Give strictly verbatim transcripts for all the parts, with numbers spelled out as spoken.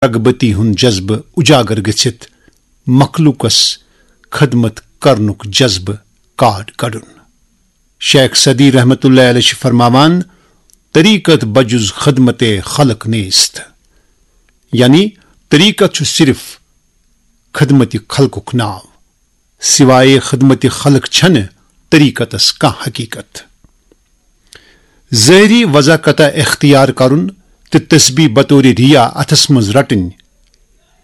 رغبتی ہُنٛد جذبہٕ اجاگر گٔژھِتھ مخلوقس خدمت کرنُک جذبہٕ کاڈ کڑُن۔ شیخ سعدی رحمتہ اللہ علیہ چھِ فرماوان، طریقت بجز خدمت خلق نیست، یعنی طریقت چھُ صرف خدمت خلقُک ناو، سوائے خدمت خلق چھنہٕ طریقتس کانٛہہ حقیقت۔ ظٲہری وضع قطع اختیار کرُن تہٕ تسبیح بطور ریا اتھس منٛز رٹٕنۍ،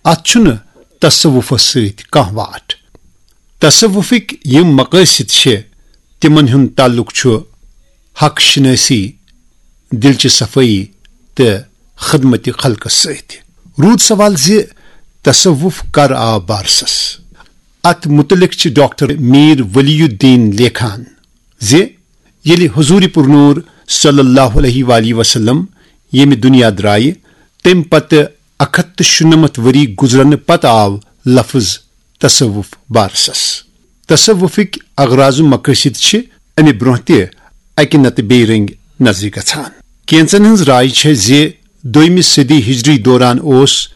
اتھ چھُنہٕ تصوفس سۭتۍ کانٛہہ واٹھ۔ تصوفٕکۍ یِم مقٲصد چھِ، تِمن ہُنٛد تعلق چھُ حق شناسی، دلچہِ صفٲیی تہٕ خدمت خلقس سۭتۍ۔ روٗد سوال زِ تصوف کر آو بارسس؟ اتھ متعلق چھِ ڈاکٹر میر ولی الدین لیکھان زِ ییٚلہِ حضور پرنور صلی اللہ علیہ وآلہ وسلم ییٚمہِ دُنیا درٛایہِ، تَمہِ پتہٕ اکھ ہتھ تہٕ شُنَمتھ ؤری گُزرنہٕ پتہٕ آو لفظ تصوف بارسس۔ تصوفٕکۍ اغراض و مقٲصد چھِ امہِ برونٛہہ تہِ اکہِ نتہٕ بیٚیہِ رنگۍ نظرِ گژھان۔ کینٛژن ہٕنٛز راے چھےٚ زِ دوٚیمہِ صدی ہجری دوران اوس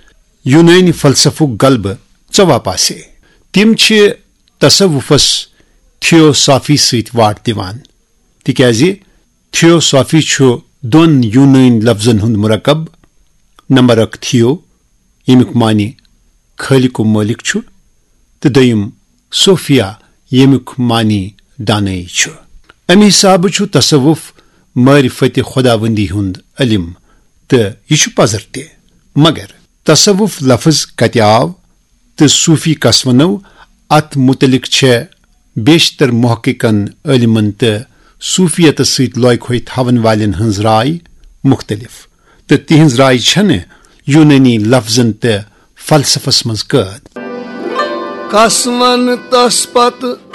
یونٲنۍ فلسفُک غلبہٕ ژواپاسے۔ تِم چھِ تصوفس تھیوسافی سۭتۍ واٹ دِوان، تِکیازِ تھیوسافی چھُ دۄن یونٲنۍ لفظن ہُنٛد مرکب، نمبر اکھ تھیو، ییٚمیُک معنی خٲلق و مٲلِک چھُ، تہٕ دوٚیِم صوفیا، ییٚمیُک معنی دانٲیی چھُ۔ امہِ حسابہٕ چھُ تصوف معرفت خداوندی ہُنٛد علم، تہٕ یہِ چھُ پزر تہِ۔ مگر تصوف لفظ کتہِ آو تہٕ صوفی کس ونو، اتھ متعلق چھےٚ بیشتر محققن، عٲلمن تہٕ صوفیتس سۭتۍ لوکھوے تھاون والٮ۪ن ہٕنٛز راے مختلف، تہٕ تِہنٛز راے چھنہٕ یونٲنی لفظن تہٕ فلسفس منٛز قٲد۔ کس ون تس پتہٕ